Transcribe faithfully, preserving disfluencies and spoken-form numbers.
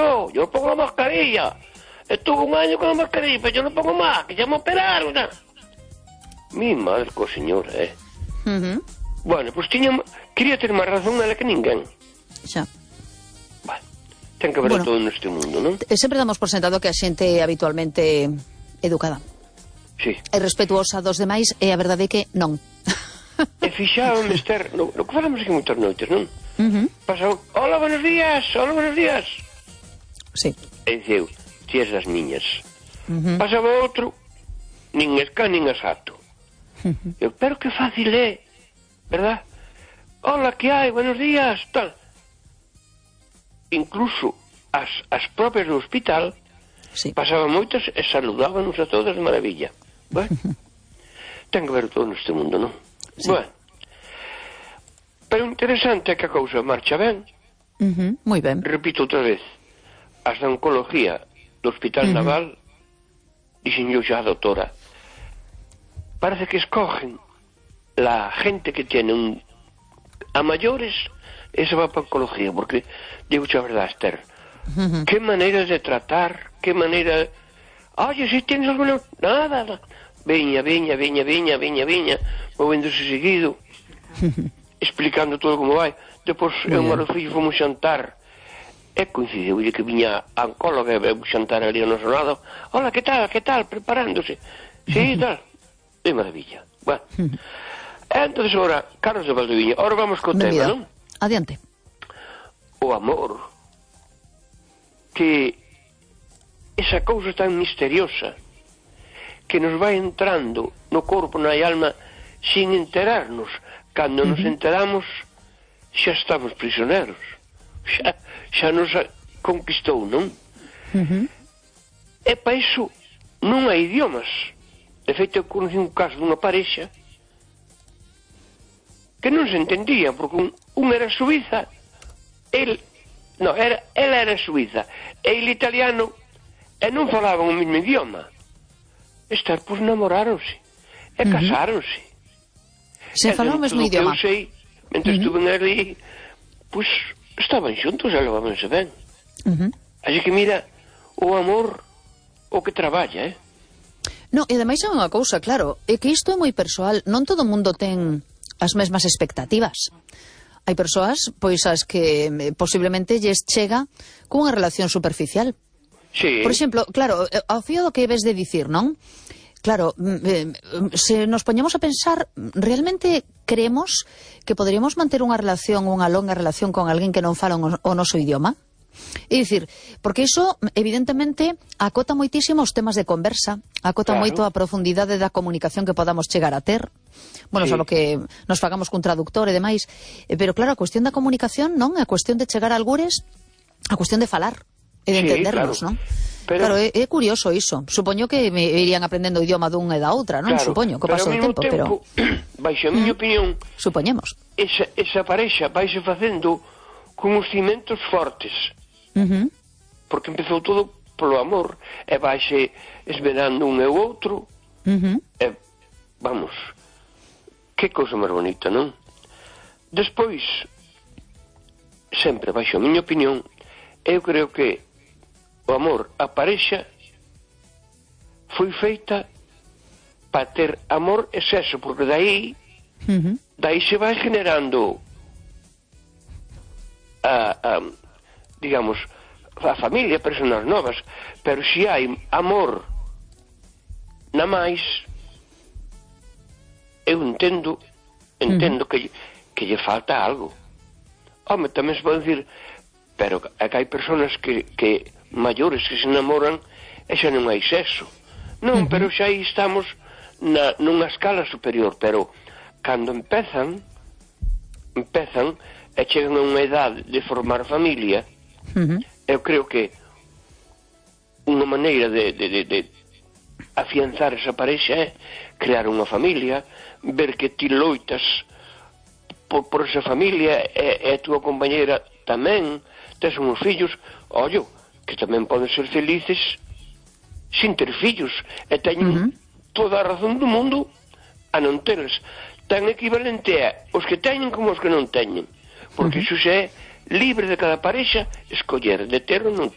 yo, yo no pongo la mascarilla. Estuve un año con la mascarilla, pero yo no pongo más, que ya me operaron. ¿No? Mi madre co señora, eh. Uh-huh. Bueno, pois pues tiña, quería ter máis razón ela que ninguén. Xa. Bueno, ten que haber bueno, todo neste mundo, non? Sempre damos por sentado que a xente é habitualmente educada. Sí. E respetuosa dos demais, e a verdade é que non. E fixábame, Esther, no, no que falamos aquí moitas noites, non? Uh-huh. Pasou, hola, buenos días, hola, buenos días. Sí. E diceu, tías das niñas. Uh-huh. Pasaba outro, nin esca, nin asato. Uh-huh. Eu, pero que fácil é, verdad? Hola, que hai, buenos días, tal. Incluso as, as propias do hospital sí. Pasaban moitas e saludábanos a todas de maravilla. Bueno, uh-huh. Ten que ver todo neste mundo, non? Sí. Bueno, pero interesante é que a cousa marcha ben. Uh-huh. Moi ben. Repito outra vez, as da oncología do Hospital uh-huh. Naval dixen yo xa a doutora, parece que escogen la gente que tiene un a mayores, esa va para oncología, porque digo a verdad, Esther, uh-huh. qué manera de tratar, qué manera, oye, si tienes alguna, nada, nada. Veña, veña, veña, veña, veña, veña, movéndose seguido, uh-huh. explicando todo como vai. Depois eu e o fillo fomos xantar, e coincidiu que viña a oncóloga e veu xantar ali ao noso lado. Hola, que tal, que tal, preparándose. Sí, tal. De maravilla. Bueno. Entonces, ahora, Carlos de Valdeviña, ahora vamos co tema, non? Adiante. O amor. Que esa cousa tan misteriosa que nos vai entrando no corpo, na alma, sin enterarnos. Cando nos enteramos, xa estamos prisioneros. Xa, xa nos conquistou, non? Uh-huh. E para iso non hai idiomas. De feito, eu conocí un caso dunha parexa que non se entendía, porque un, un era suiza, el, no, era, ela era suiza, e el italiano, e non falaban o mesmo idioma. Estar, pois, namoráronse, e uh-huh. casáronse. Se falaban o mesmo idioma. Eu sei, mentre uh-huh. estuven ali, pois, estaban xuntos e levábanse ben. Uh-huh. Así que mira, o amor, o que traballa, eh? No, e ademais é unha cousa, claro, é que isto é moi persoal, non todo o mundo ten as mesmas expectativas. Hai persoas, pois, as que eh, posiblemente lles chega cunha relación superficial. Sí. Por exemplo, claro, ao fío do que ves de dicir, non? Claro, eh, se nos poñemos a pensar, realmente creemos que poderíamos manter unha relación, unha longa relación con alguén que non fala o noso idioma? É dicir, porque iso evidentemente acota moitísimo os temas de conversa, acota claro. moito a profundidade da comunicación que podamos chegar a ter, bueno, sí. só que nos fagamos cun traductor e demais, pero claro, a cuestión da comunicación, non? A cuestión de chegar a algures, a cuestión de falar e de sí, entendernos, claro. non? Pero... Claro, é, é curioso iso. Supoño que me irían aprendendo o idioma dun e da outra, non? Claro, Supoño, co paso do tempo, tempo, pero... baixo a miña mm, opinión... Supoñemos. Esa, esa parexa vaise facendo con os cimentos fortes. Uh-huh. Porque empezou todo polo amor e vaise esmerando un e o outro uh-huh. e, vamos, que cousa máis bonita, non? Despois, sempre baixo a miña opinión, eu creo que o amor, a parexa foi feita para ter amor e sexo, porque dai uh-huh. dai se vai generando a, a digamos, a familia, personas novas, pero se hai amor na máis, eu entendo, entendo uh-huh. que, que lle falta algo. Home, tamén se pode dicir, pero é que hai personas que, que maiores que se enamoran e xa non hai sexo. Non, uh-huh. pero xa aí estamos na, nunha escala superior, pero cando empezan, empezan e chegan a unha edade de formar familia, uh-huh. eu creo que unha maneira de, de, de, de afianzar esa parexa é crear unha familia, ver que ti loitas por, por esa familia e, e a túa compañera tamén, tes uns fillos, ollo, que tamén poden ser felices sin ter fillos e teñen uh-huh. toda a razón do mundo a non teles. Tan equivalente é os que teñen como os que non teñen, porque uh-huh. iso xa é libre de cada parexa escoller de ter ou non ter.